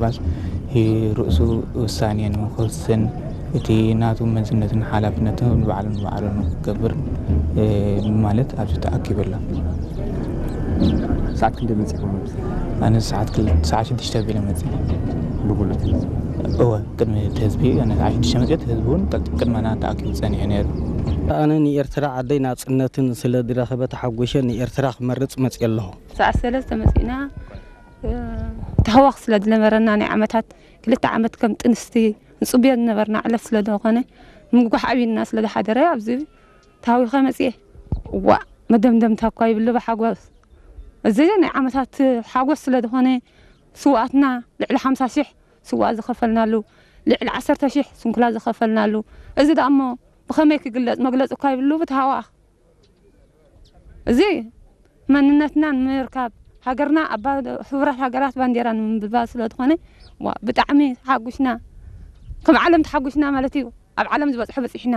ባስ ርእሱ ውሳኔ ንክወስን እቲ ናቱ መዝነትን ሓላፍነትን ንባዕሉ ንባዕሉ ንክገብር ማለት ኣብዚ ተኣኪቡ ኣሎ። ሰዓት ክንደይ መፂኹም ኣብዚ? ኣነ ሰዓት ክል- ሰዓት ሽዱሽተ ቢለ መፅእ። ብጉልበት እወ፣ ቅድሚ እቲ ህዝቢ ኣነ ሰዓት ሽዱሽተ መፅት ህዝቢ እውን ቀልጢፍ ቅድመና ተኣኪቡ ፀኒሑ ነይሩ። ኣነ ንኤርትራ ዓደይ ናጽነትን ስለ ዝረኸበ ተሓጒሸ ንኤርትራ ክመርጽ መጽየ ኣለኹ። ሰዓት ሰለስተ መጺእና። ተህዋኽ ስለ ዝነበረና ናይ ዓመታት ክልተ ዓመት ከም ጥንስቲ ንጽብዮ ዝነበርና ዕለት ስለ ዝኾነ ምጉጓሕ ኣብዩና ስለ ዝሓደረ ኣብዚ ተሃዊኸ መጽየ። ዋ መደምደምታ እኳ ይብሉ ብሓጎስ። እዚ ናይ ዓመታት ሓጎስ ስለ ዝኾነ ስውኣትና ልዕሊ ሓምሳ ሽሕ ስውኣት ዝኸፈልናሉ፣ ልዕሊ ዓሰርተ ሽሕ ስንኩላ ዝኸፈልናሉ፣ እዚ ደኣ እሞ ብኸመይ ክግለጽ መግለጺ እኳ ይብሉ ብተሃዋኽ። እዚ መንነትና ንምርካብ ሃገርና ኣብ ባ- ሕቡራት ሃገራት ባንዴራ ንምንብባል ስለ ዝኾነ ዋ ብጣዕሚ ተሓጒስና። ከም ዓለም ተሓጒስና ማለት እዩ። ኣብ ዓለም ዝበጽሑ በጺሕና።